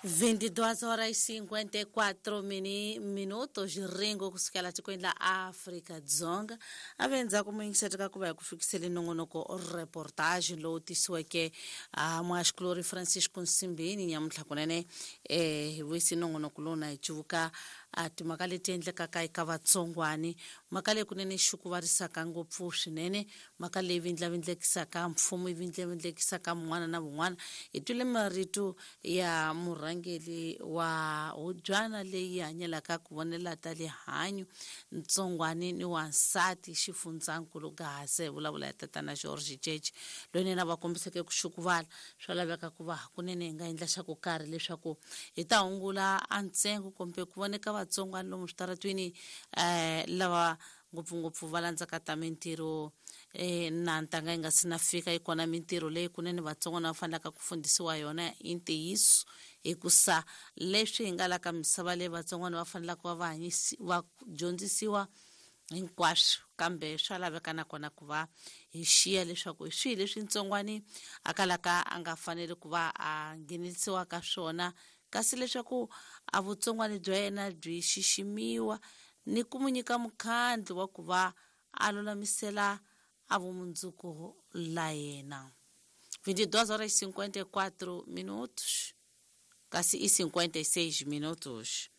22 horas e 54 minutos ringo kusukela tikweni la Afrika Dzonga. A ve ndzhaku muyingiseri ka ku va hi ku fikisele nongonoko reportage lowu tisiweke a muhaxikulori Francisco Nsimbini nyamuntlha kunene. Hi vuyisi nongonoko lowu na hi cuvuka a timhaka leti endlekaka eka vatsongwani, mhaka leyi kunene xukuvarisaka ngopfu swinene, mhaka leyi vindlavindlekisaka mfumo, yi vindlavindlekisaka mun'wana na vun'wana. Hi twile marito ya murhangeri wa hubyana leyi hanyelaka ku vonela ta lihanyo ntsongwani ni wansati xifundzankulu Gaze, vulavula ya tatana George Jeje, loyi nena va kombiseke ku xukuvala. Swa laveka ku va hakunene hi nga endla xa ku karhi leswaku hi ta hungula a ntsengo kumbe ku voneka vatsongwani lomu switaratwini, lava ngopfungopfu va landzaka ta mintirho. Na ntanga yi nga si na fika, yi kona mintirho leyi kunene vatsongwana va fanelaka ku fundisiwa yona i ntiyiso, hikusa leswi hi nga la ka misava leyi vatsongwana va fanelaka va va va dyondzisiwa hinkwaswo, kambe swa laveka nakona ku va hi xiya leswaku hi swihi leswi ntsongwani a kalaka a nga faneli ku va a nghenelisiwa ka swona, kasi leswaku a vutsongwani bya yena byi xiximiwa ni ku mu nyika mukhandlu wa ku va a lulamisela a vumundzuku la yena. 22 horas e 54 minutos, kasi i 56 minutos.